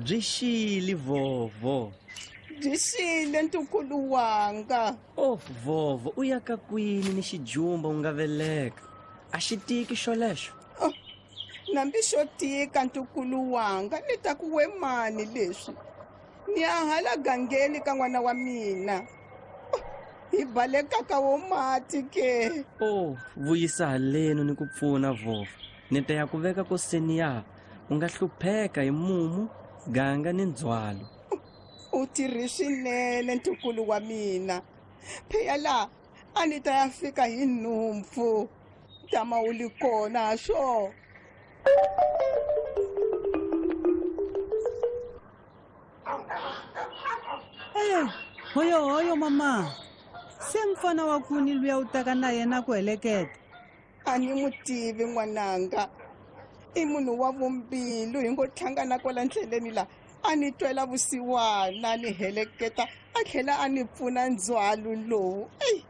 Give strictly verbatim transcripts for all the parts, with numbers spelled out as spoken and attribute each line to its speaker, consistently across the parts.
Speaker 1: Byi xile vovo.
Speaker 2: Byi xile ntukulu wanga.
Speaker 1: Oh vovo, u ya ka kwini ni xijumba u nga veleka? A xi tiki xolexo?
Speaker 2: Oh, nambi xo tika ntukulu wanga, ni ta ku we mani leswi. Ni ya hala gangeni ka n'wana wa mina. Oh, hi baleka ka wo mati ke.
Speaker 1: Oh, vuyisa haleno ni ku pfuna vovo. Ni ta ya ku veka koseni ya. U nga hlupheka hi mumu, ganga ni ndzhwalo.
Speaker 2: U tirhi swinene ntukulu wa mina. Phela la a ni ta ya fika hi nhumpfu. Tama u li kona swo.
Speaker 3: Eh, hoyo hoyo mama. Se mfana wa kuni luya u taka na yena ku heleketa.
Speaker 2: A ni n'wi tivi n'wananga. I munhu wa vumbilu hi ngo hlangana kwala ndleleni la. A ni twela vusiwana ni heleketa a tlhela a ni pfuna ndzhwalo lowu. Ey,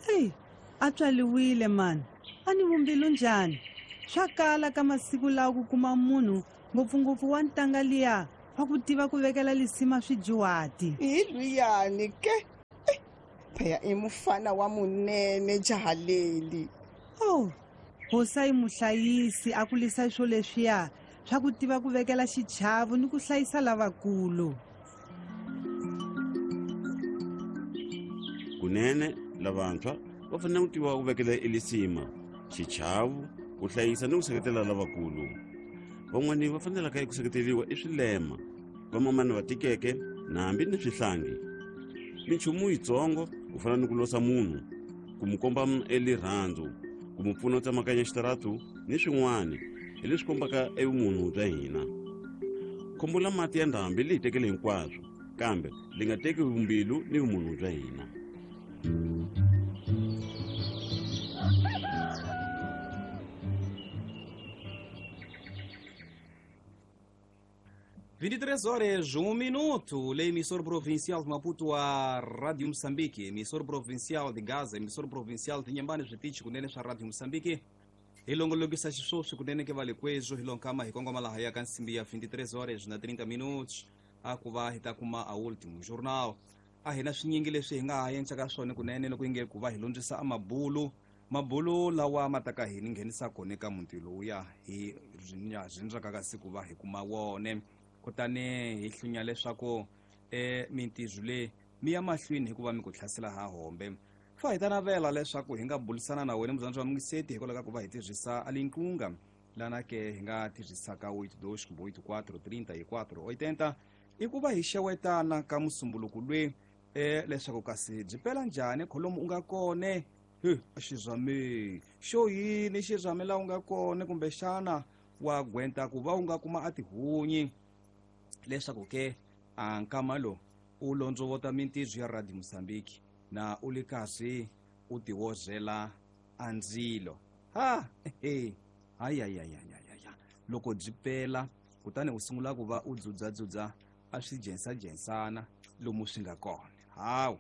Speaker 3: ey, a tswaliwile mani. A ni vumbilu njhani? Swa kala ka masiku lawa ku kuma munhu ngopfungopfu wa ntanga liya wa ku tiva ku vekela lisima swijuwati.
Speaker 2: Hi luyani ke. Phela i mufana wa munene jaha leli.
Speaker 3: Oh, hosa i muhlayisi a kulisa swo leswiya swa ku tiva ku vekela xichavo ni ku hlayisa lavakulu.
Speaker 4: Kunene lavantshwa va fanele ku tiva ku vekela elisima xichavo, ku hlayisa ni ku seketela lavakulu. Van'wani va fanelaka eku seketeriwa i swilema, vamamani va tikeke na hambi ni swihlangi. Minchumu yitsongo ku fana ni ku losa munhu, ku mu komba elirhandzu, ku mu pfuna u tsemakanya xitaratu ni swin'wana hi leswi kombaka evumunhu bya hina. Khombo la mati ya ndhambi li hi tekele hinkwaswo, kambe li nga teki vumbilu ni vumunhu bya hina.
Speaker 5: vinte e três horas, um minuto. Emissor provincial de Maputo, a Rádio Moçambique. Emissor provincial de Gaza, emissor provincial de Inhambane, Zvitichi, kunene swa Rádio Moçambique. Hilongolokisa xiswoswi kunene ke vale kwezo hilonkama hi kongoma laha ya ka nsimbi ya vinte e três horas na trinta minutos. A ku va hi ta kuma a último jornal. A hi na swinyingi leswi hi nga ha endlaka swona kunene loko yi nge ku va hi lundzisa a mabulu. Mabulu lawa ma ta ka hi ni nghenisa kona eka muti lowuya hi rindzaka ka siku va hi kuma wone. Kutani hi hlunya leswaku e mintirho leyi mi ya mahlweni hikuva mi ku hlasela ha hombe. Fa hi ta navela leswaku hi nga bulisana na wena muzanzi wa mungiseti hikwalaho ka ku va hi tirhisa alinkunga lana ke hi nga tirhisaka oito dois oito quatro trinta e quatro oitenta i ku va hi xewetana ka musumbuluku lwe e leswaku kasi byi pela njhani kholomu u nga kone he xizame xo yini xizame la u nga kone kumbexana wa gwenta ku va u nga kuma a tihunyi leswaku ke a nkama lo u londzovota mintirho ya Radio Moçambique na u le kasi u tiwozela a ndzilo. Ha he hayi hayi hayi hayi loko byi pela kutani u sungula ku va u dzudzadzudza a swi jensajensana lomu swi nga kona. Hawu.